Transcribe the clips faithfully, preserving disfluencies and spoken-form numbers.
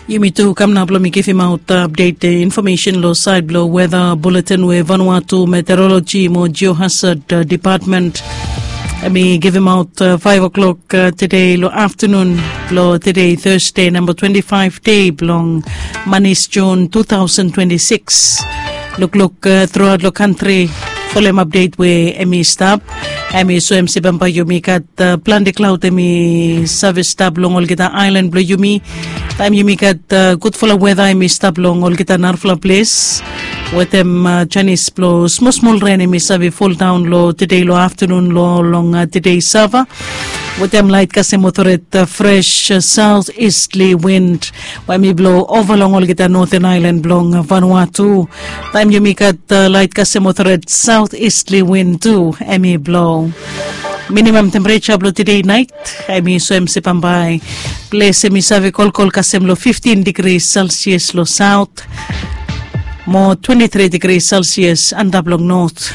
Yumi tu kam nao blong mi givimaot apdet infomesen long sait blong weda buletin we Vanuatu Meteorologi mo Geohazard Depatmen em i givimaot faiv o'klok tede long aftanun blong tede Tasde namba twenti faiv dei blong manis Jun tu taosen twenti sikis. Lukluk truaot long kantri folem apdet we em i stap. Em i soem se bambae yumi gat plante klaod em i save stap long olgeta aelan blong yumi. Taem yumi gat gudfala weda em i stap long olgeta narafala ples wetem janis blong smolsmol ren em i save foldaon long tede long aftanun long tede sava. Wetem laet kasem otoret fres saot istli win we em i blo ova long olgeta noten aelan blong Vanuatu. Taem yumi gat laet kasem otoret saot istli win tu em i blo. Minimam tempereja blong tede naet em i soem se bambae ples em i save kolkol kasem long fiftin digri selsias long saot mo twenti tri digri selsias antap long not.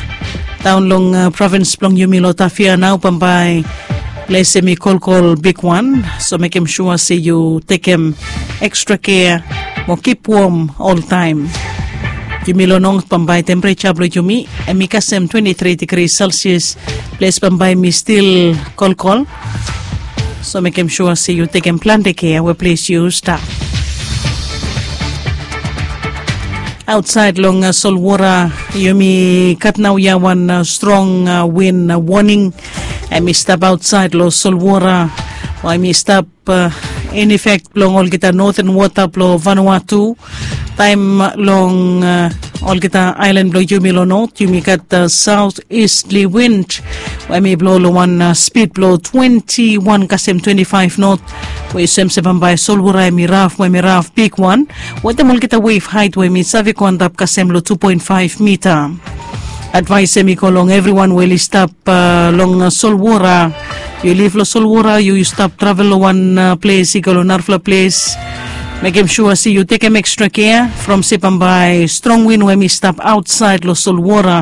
Daon long provins blong yumi long Tafia nao bambae ples em i kolkol bigwan, so mekem sua se yu tekem ekstra kea mo kip wom oltaem. Yumi long not bambae tempereja blong yumi em i kasem twenti tri digri selsias. Ples bambae em i stil kolkol, so mekem sua se yu tekem plante kea we ples yu stap. Aotsaed long solwora yumi gat naoia wan strong win woning em i stap aotsaed long solwora we em i stap in efek blong olgeta noten wota blong Vanuatu. Taem long olgeta aelan blong yumi long not yumi gat saot istli win we em i blo long wan spid blong twenti wan kasem twenti faef not, we i soem se bambae solwora em i raf we em i raf bigwan wetem olgeta wef haet we em i save go antap kasem long tu poen faef mita. Advaes em i go long evriwan we oli stap long solwora. Yu lif long solwora yu stap travel long wan ples i go long narafala ples, mekem sua se yu tekem ekstra kea from se bambae strong win we em i stap aotsaed long solwora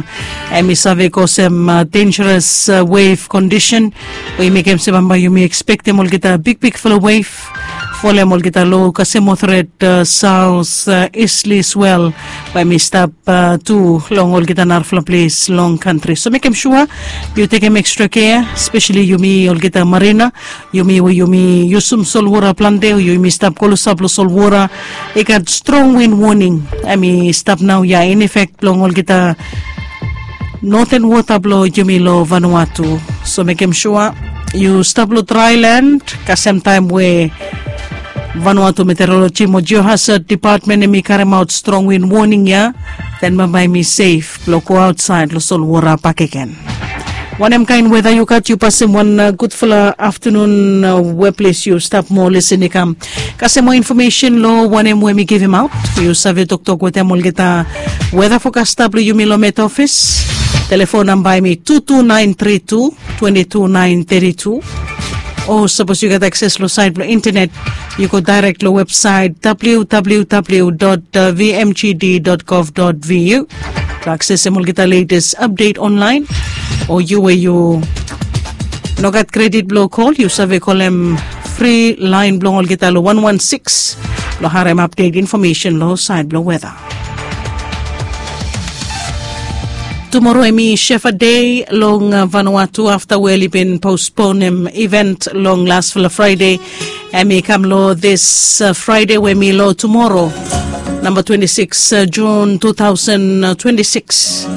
em i save kosem denjaras wef kondisen we i mekem se bambae yumi ekspektem olgeta bigbigfala wef folem olgeta lo kasem otoret saos istli swel we em i stap tu long olgeta narafala ples long kantri. So mekem sua yu tekem ekstra kea, spesali yumi olgeta marina, yumi we yumi yusum solwora plante o yumi stap klosap long solwora. I gat strong win woning em i stap naoia in efek blong olgeta noten wota blong yumi long Vanuatu. So mekem sua yu stap long draelan kasem taem we Vanuatu Meteorologi mo Geohazard Depatmen em i karemaot strong win woning ya, den bambae em i sef blong go aotsaed long solwora bakegen. Wanem kaen weda yu gat, yu pasem wan gudfala aftanun we ples yu stap mo lesen i kam kasem moa infomesen long wanem we mi givimaot. Yu save toktok wetem olgeta weda fokasta blong yumi long Met Ofis. Telefon namba em i tu tu naen tri tu twenti tu naen teti tu. O sapos yu gat akses long saet blong intenet, yu go daerek long websaet www vmgd gov vvu blong aksesem olgeta letes apdet onlaen. O yu we yu no gat kredit blong kol, yu save kolem fri laen blong olgeta long wan wan sikis blong harem apdet infomesen long saed blong weda. Tumoro em i Shefa Dei long Vanuatu afta we oli bin posponem iven long lasfala Fraede. Em i kam long dis Fraede we mi long tumoro namba twenti sikis Jun tu taosen twenti sikis.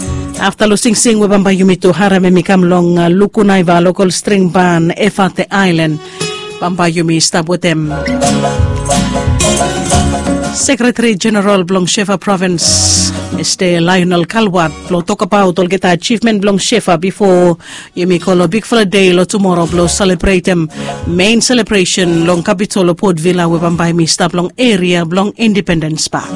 Afta long singsing we bambae yumi tu harem em i kam long Lukunaiva lokol string ban Efate Aelan. Bambae yumi stap wetem Sekretari Jeneral blong Shefa Provins, Mista Lionel Kalwat, blong tokbaot olgeta ajivmen blong Shefa bifo yumi go long bigfala dei long tumoro blong selebretem mein selebresen long kapitol long Port Vila we bambae mi stap long eria blong Independens Pak.